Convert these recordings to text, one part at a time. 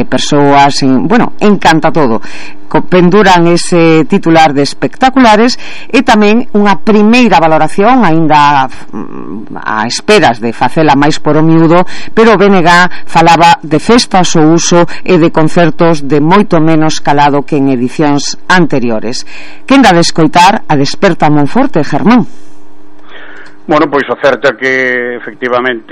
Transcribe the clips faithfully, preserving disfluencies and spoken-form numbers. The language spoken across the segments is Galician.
persoas, en, bueno, encanta todo. Penduran ese titular de espectaculares e tamén unha primeira valoración aínda a esperas de facela máis por o miúdo, pero o B N G falaba de festas ao uso e de concertos de moito menos calado que en edicións anteriores. Quen dá de escoitar a Desperta Monforte, Germán? Bueno, pois o certo é que efectivamente,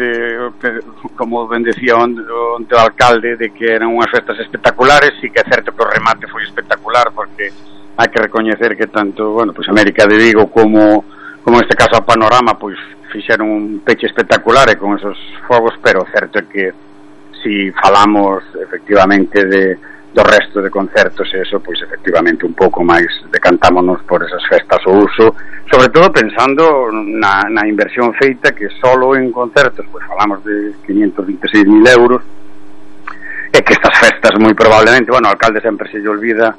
como ben decía onde, onde o alcalde, de que eran unhas festas espectaculares. Sí que é certo que o remate foi espectacular, porque hai que recoñecer que tanto, bueno, pois América de Vigo como, como neste caso a Panorama, pois fixeron un peche espectacular e con esos fogos, pero o certo é que si falamos efectivamente de do resto de concertos e eso, pois efectivamente un pouco máis decantámonos por esas festas ao uso, sobre todo pensando na, na inversión feita, que solo en concertos pois falamos de quinientos veintiséis mil euros, e que estas festas moi probablemente, bueno, o alcalde sempre se lle olvida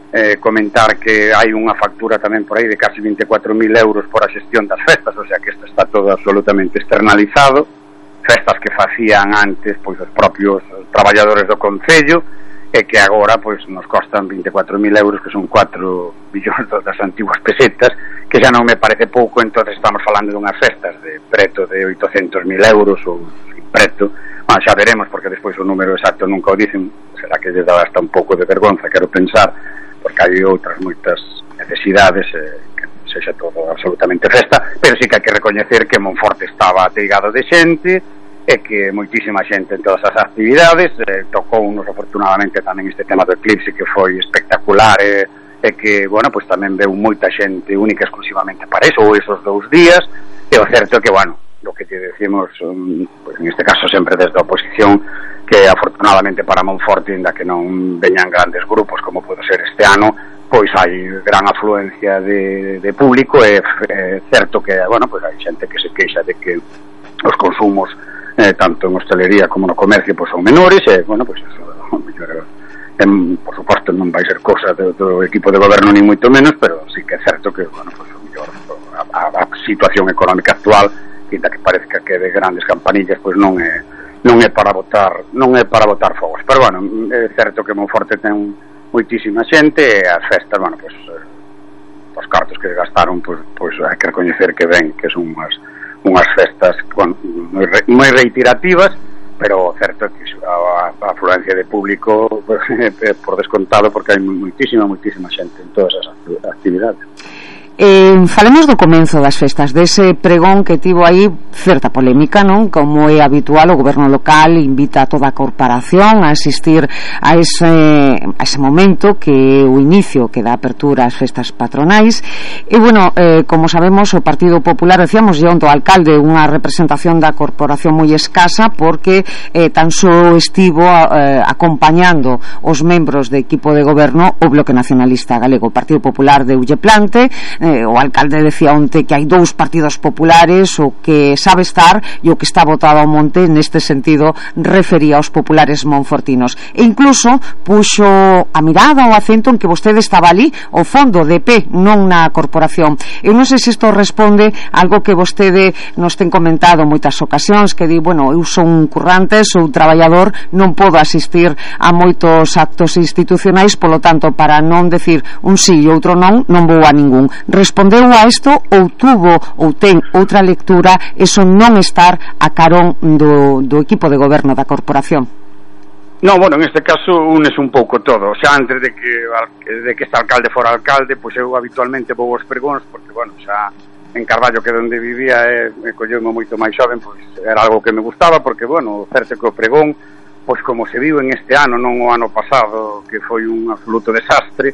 eh, comentar que hai unha factura tamén por aí de casi veinticuatro mil euros por a xestión das festas, o sea que isto está todo absolutamente externalizado, festas que facían antes pois os propios traballadores do concello, e que agora pois nos costan veinticuatro mil euros, que son cuatro billóns das antiguas pesetas, que xa non me parece pouco. Entonces estamos falando dunhas festas de preto de oitocentos mil euros ou preto, bueno, xa veremos, porque despois o número exacto nunca o dicen, será que lles dá hasta un pouco de vergonza, quero pensar, porque hai outras moitas necesidades, eh, que sexa todo absolutamente festa, pero sí que hai que recoñecer que Monforte estaba ateigado de xente, e que moitísima xente en todas as actividades. Eh, tocou unos afortunadamente tamén este tema do eclipse, que foi espectacular, e, e que, bueno, pois tamén veu moita xente única exclusivamente para eso, ou esos dous días. E o certo é que, bueno, lo que te decimos, um, pues en este caso sempre desde a oposición, que afortunadamente para Monforte, ainda que non veñan grandes grupos como pode ser este ano, pois hai gran afluencia de, de público, e é certo que, bueno, pois hai xente que se queixa de que os consumos Eh, tanto en hostelería como no comercio pois son menores, e, bueno, pois eso, mellor, eh, por suposto non vai ser cosa do, do equipo de goberno, ni moito menos, pero sí que é certo que, bueno, pois o mellor a, a, a situación económica actual, que da que parezca que de grandes campanillas, pois non é non é para botar non é para botar fogos, pero bueno, é certo que Monforte ten moitísima xente, e as festas, bueno, pois eh, os cartos que gastaron, pois, pois hai que recoñecer que ven que son unhas unhas festas con, moi, re, moi reiterativas, pero certo é que a, a afluencia de público é por descontado, porque hai moitísima, moitísima xente en todas as actividades. Eh, falemos do comenzo das festas, dese pregón que tivo aí certa polémica, non? Como é habitual, o goberno local invita a toda a corporación a asistir a ese, a ese momento que é o inicio que dá apertura ás festas patronais. E bueno, eh, como sabemos, o Partido Popular, decíamos ya onto alcalde, unha representación da corporación moi escasa, porque eh, tan só estivo eh, acompañando os membros do equipo de goberno o Bloque Nacionalista Galego. O Partido Popular deulle plante. Eh, o alcalde decía onte que hai dous partidos populares, o que sabe estar e o que está botado ao monte. Neste sentido refería aos populares monfortinos, e incluso puxo a mirada, o acento en que vostede estaba ali ao fondo de pé, non na corporación. Eu non sei se isto responde a algo que vostede nos ten comentado moitas ocasións, que di, bueno, eu son un currante, sou un traballador, non podo asistir a moitos actos institucionais, polo tanto, para non decir un sí e outro non, non vou a ningún. Respondeu a isto, ou tuvo ou ten outra lectura eso non estar a carón do, do equipo de goberno da corporación? No, bueno, en este caso unes un pouco todo. O sea, antes de que de que este alcalde fora alcalde, pois eu habitualmente vou aos pregóns, porque, bueno, xa en Carballo, que é onde vivía, e, e colleume moito máis xoven, pois era algo que me gustaba, porque, bueno, certo que o pregón, pois como se viu en este ano, non o ano pasado, que foi un absoluto desastre,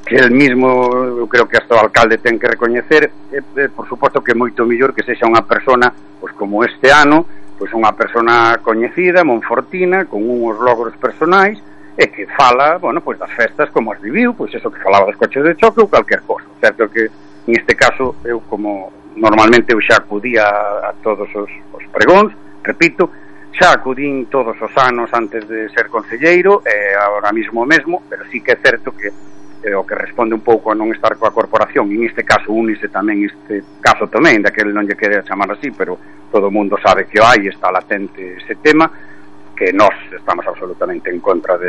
que el mismo, eu creo que hasta o alcalde ten que recoñecer, e, e, por suposto que é moito mellor que sexa unha persona, pois como este ano, pois unha persona coñecida, monfortina, con uns logros personais, e que fala, bueno, pois das festas como as viviu, pois eso que falaba dos coches de choque ou calquer cosa. Certo que, en este caso, eu como normalmente eu xa acudía a, a todos os, os pregóns, repito, xa acudín todos os anos antes de ser concelleiro, e agora mismo mesmo, pero sí que é certo que eh, o que responde un pouco a non estar coa corporación, en este caso únise tamén este caso tamén, daquele non lle quere chamar así, pero todo o mundo sabe que hai, está latente ese tema, que nós estamos absolutamente en contra deste